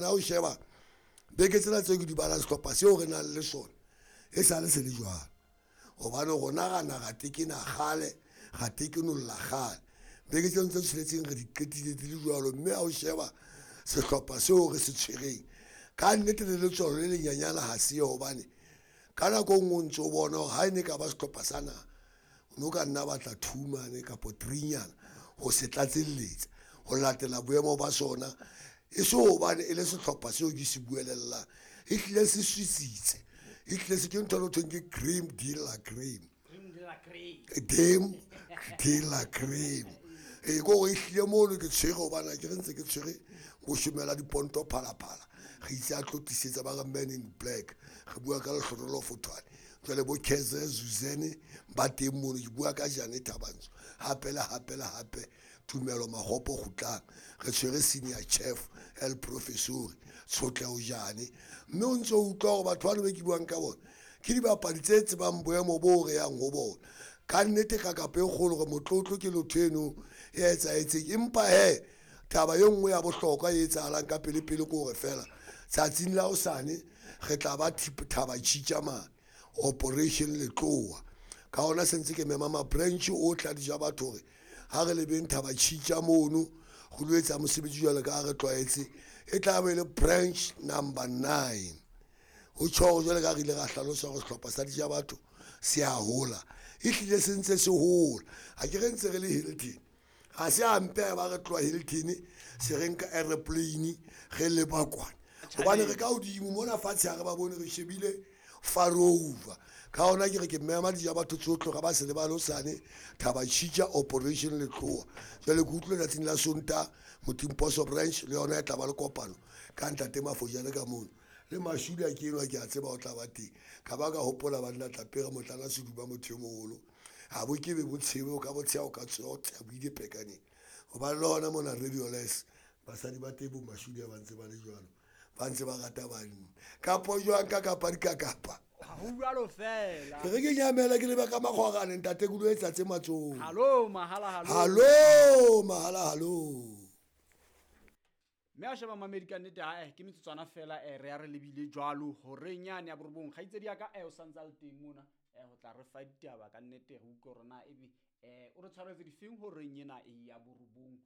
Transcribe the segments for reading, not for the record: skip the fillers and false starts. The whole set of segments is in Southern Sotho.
Ha o sheba beke tsena tseo ke di balang, sehlopha seo re nang le sona e sale se le jwalo, hobane rona ra na ra tekena kgale, ra tekenolla kgale. Beke tseno tse tsheletseng re di qetile di le jwalo, mme ha o sheba sehlopha seo re se tshwereng ka nnete le letswalo le lenyanyana ha se yo, hobane ka nako e nngwe o ntso bona hore ha e ne ka ba sehlopha sa naha o no ka nna batla two mane kapa three nyana ho se tlatselletsa ho latela boemo ba sona. E se hobane e le sehlopha seo ke se buelellang, e hlile se swisitse, e hlile se ke ntho e thweng ke cream de la cream, dem de la cream. Ee, ke hore e hlile mono ke tshwere, hobane ke re ntse ke tshwere boshomela diponto phalaphala, re itse a tlo tlisetsa ba re man in black, re bua ka Lehlohonolo Fothwane. Jwale bo Keze Zuzene ba teng mono, ke bua ka Jane Thabantsho hape le hape le hape, Tumelo Magopo Kgutlang, re tshwere senior chef El Professor Tshotleho Jane. Mme o ntso utlwa hore batho bano be ke buang ka bona ke dibapadi tse tsebang boemo bo re yang ho bona. Ka nnete ka kapa e kgolo re motlotlo ke lotho eno e etsahetseng, empa he taba e nngwe ya bohlokwa e etsahalang ka pele pele ke hore fela tsatsing la hosane re tla ba Thaba Tjhitja mane Operation Letloa. Ka hona se ntse ke mema ma-branch ohle a dija batho hore ha re lebeng Thaba Tjhitja mono go lo etsa mosebetsi jwalo ka ha re tlwaetse. E tla be le branch number 9. Ho tjho hore jwale ka re ile ra hlalosa hore sehlopha sa dija batho se a hola, e hlile se ntse se hola. Ha ke re ntse re le Hilton, ha se hampe ha ba re tloha Hilton se re nka aeroplane re leba kwana, hobane re ka hodimo mona fatshe ha re ba bone, re shebile far over. Ka hona ke re ke mema dija batho tsohle ga ba se lebale hosane Thaba Tjhitja Operation Letloa. Jwale ke utlwile tsatsing la Sontaha Motimposo branch le yona e tla ba le kopano ka ntate Mafojane ka mono, le Mashudi a ke enwa ke a tseba o tla ba teng. Ka ba ka hopola banna Tlapere motlana seduba motho e moholo, ha bo ke be bo tshebe, o ka bo tsheha, o ka tsoha, o tsheha bo ile pekaneng. Hobane le hona mona Radio Les basadi ba teng bo Mashudi ba ntse ba le jwalo, ba ntse ba rata banna kapo jwang ka kapa di ka kapa. Ha ho jwalo fela. Ke re ke nyamela ke leba ka makgwarane ntate ke lo etsa tse matsong. Hallo mahala hallo. Hallo mahala hallo. Mme a sheba mamedi ka nnete ha ke metsotswana fela re ya re lebile jwalo horeng yane ya borobong. Kgaitsedi ya ka o santse a le teng mona ho tla re fa ditaba ka nnete re utlwe hore na ebe o re tshwaretse difeng horeng ena ya borobong.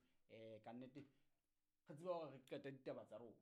Ka nnete re tseba hore re qete ditaba tsa rona.